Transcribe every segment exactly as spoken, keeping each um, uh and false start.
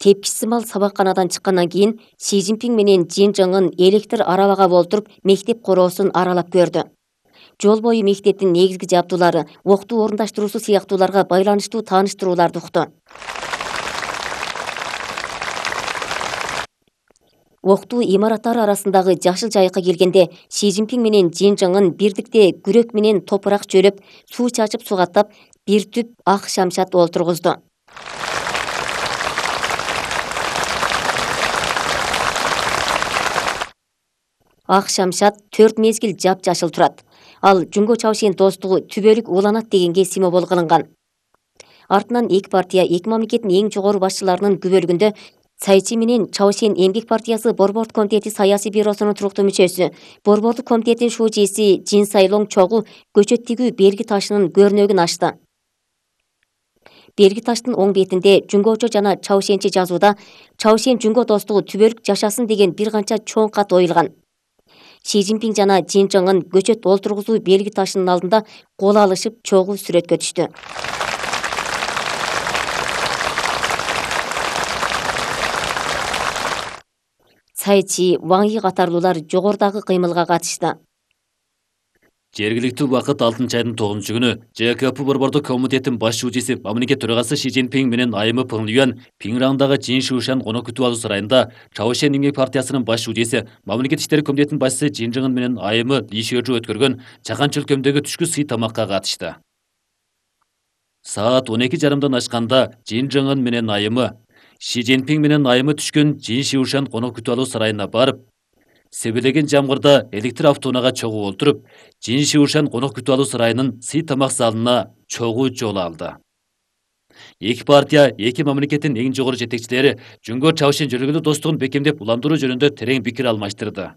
Тепкичсимал сабакканадан чыккандан кийин Си Цзиньпин менен Чжин Чжыңын электр арабага олтуруп мектеп короосун аралап көрдү. Жол бою мектептин негизги жабдуулары, октуу орундаштыруусу сыяктууларга байланыштуу тааныштырууларды укту. Октуу имараттары арасындагы жашыл жайыкка келгенде Си Цзиньпин менен Чжин Чжыңын бирдикте күрөк менен топурак жөлөп, суу чачып сугаттап, бир түп ак шамшат олтургузду. Ак шамшат төрт мезгил жап-жашыл турат. Ал Жунго Чаошен достугу түбөлүк уланат дегенге символ кылынган. Артынан эки партия эки мамлекеттин эң жогору башчыларынын күбөлүгүндө Цай Чи менен Чаошен эмгек партиясы Борбордук комитети саясий бюросунун туруктуу мүчөсү, Борбордук комитеттин шүүжеси Джин Сайлонг Чогу көчөт тигүү белги ташынын көрнөгүн ачты. Белги таштын оң бетинде Жунгочо жана Чаошенче жазууда Чаошен Жунго достугу түбөлүк жашасын деген бир канча чоң кат оюлган. Си Цзиньпин жана Чжин Чжыңын көчөт олтургузуу белги ташынын алдында кол алышып чогуу сүрөткө түштү. Цай Чи, Ван Yi катарлуулар жогорудагы кыймылга катышты. Жергиликтүү убакыт алтынчы айдын тогузунчу күнү Ж К П Борбордук комитеттин баш шүүжеси мамлекет төрагасы Си Цзиньпин менен айымы Пeng Liyuan Пиңраңдагы Жин Шушан конок күтүп алуу сарайында Чаошен эмгек партиясынын баш шүүжеси мамлекет иштери комитетинин башчысы Чжин Чжыңын менен айымы Ли Шежу өткөргөн чакан чөлкөмдөгү түшкү сый тамакка катышты. Саат он эки жарымдан ашканда Чжин Чжыңын менен айымы Си Цзиньпин менен айымы түшкөн Жин Шушан конок күтүп алуу сарайына барып, себелеген жамгырда электр автоунага чогуу олтуруп, Жин Шушан конок күтүп алуу сарайынын сый тамак залына чогуу жол алды. Эки партия, эки мамлекеттин эң жогору жетекчилери Жунго Чаошен жөлөгөлүү достугун бекемдеп уландыруу жөнүндө терең пикир алмаштырды.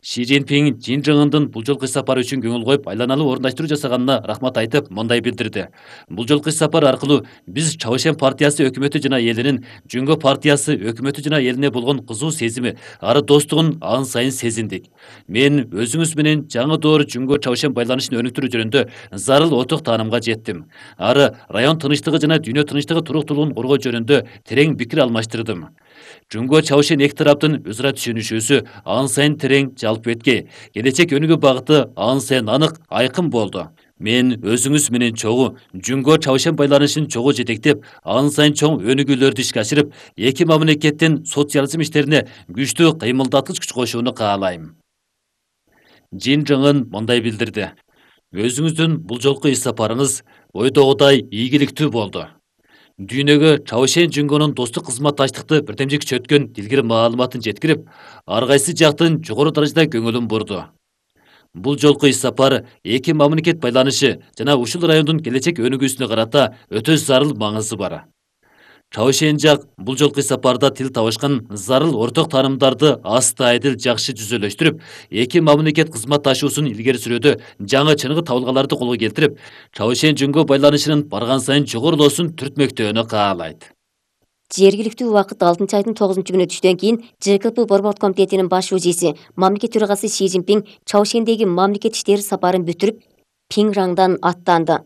Си Цзиньпин Чжин Чжыңдын бул жолку сапары үчүн көңүл коюп, айланалуу орундаштыруу жасаганына рахмат айтып, мындай билдирди. Бул жолку сапар аркылуу биз Чаошен партиясы өкмөтү жана элинин Жунго партиясы өкмөтү жана элине болгон кызуу сезими, ары достугун ан сайын сезиндик. Мен өзүңүз менен жаңы доор Жунго Чаошен байланышын өнүктүрүү жөнүндө зарыл отук таанымга жеттим. Ары район тынычтыгы жана дүйнө тынычтыгы туруктуулугун коргоо жөнүндө терең пикир алмаштырдым. Жунго Чаошен эки тараптын өз ара түшүнүшүүсү ан сайын терең жалпы эткей, келечек өнүгүү багыты ан сайын анык, айкын болду. Мен өзүңүз менен чогуу Жунго Чаошен байланышын чогуу жетектеп, ан сайын чоң өнүгүүлөрдү ишке ашырып, эки мамлекеттин социализм иштерине күчтүү кыймылдаткыч күч кошууну каалайм. Чжин Чжыңын мындай билдирди. Өзүңүздүн бул жолку иш сапарыңыз ойдогудай ийгиликтүү болду. Дүйнөгө Чаошен Жунгонун достук кызматташтыкты бирдемжик күчөткөн дилгир маалыматын жеткирип, ар кайсы жактын жогору даражада көңүлүн бурду. Бул жолку иш сапар эки мамлекет байланышы жана ушул райондун келечек өнүгүүсүнө карата өтө зарыл маңызы бар. Чаошен жак бул жолку сапарда тил табышкан зарыл орток таанымдарды асты айдыл жакшы жүзөлөштүрүп, эки мамлекет кызматташуусун илгери сүрүүдө жаңы чыныгы табылгаларды колго келтирип, Чаошен Жунго байланышынын барган сайын жогорулоосун түртмөктөөнү каалайт. Жергиликтүү убакыт алтынчы айдын тогузунчу күнү түштөн кийин Ж К П Борбордук комитетинин баш шүүжеси мамлекет төрагасы Си Цзиньпин Чаошендеги мамлекет иштери сапарын бүтүрүп, Пиңраңдан аттанды.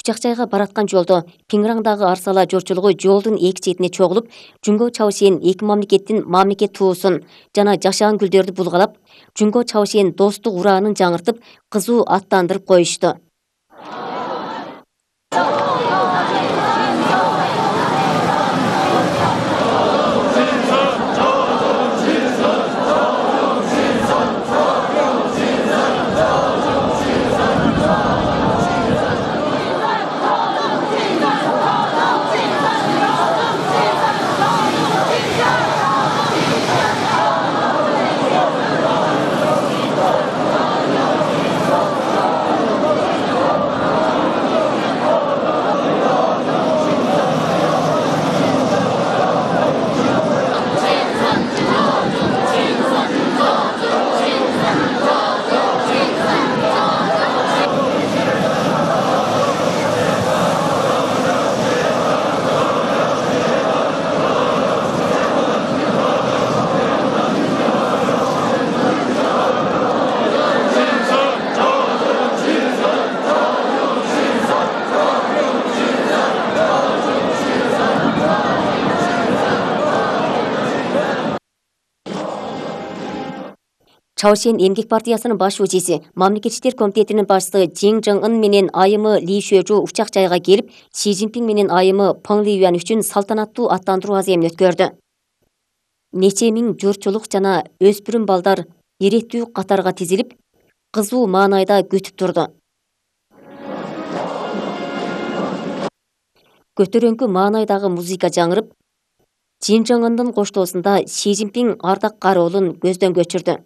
Учак жайга бараткан жолдо Пиңраңдагы арсала жорчулугу жолдун эки четине чогулуп, Жунго Чаошен эки мамлекеттин мамлекет туусун жана жашаан гүлдөрдү булгалап, Жунго Чаошен достук ураанын жаңыртып, кызуу аттандырып коюшту. Чаошен эмгек партиясынын баш өчеси, Мамлекеттик иштер комитетинин башчысы Жин Чжын Ын менен айымы Ли Шөжү учак жайга келип, Си Цзиньпин менен айымы Пeng Лiyuan үчүн салтанаттуу аттандыруу аземин өткөрдү. Нече миң журтчулук жана өспүрүм балдар иреттүү катарга тизилип, кызуу маанайда күтүп турду. Көтөрөңкү маанайдагы музыка жаңырып, Жин Чжын Ындын коштоосунда Си Цзиньпин ардак кароолун көздөн көчүрдү.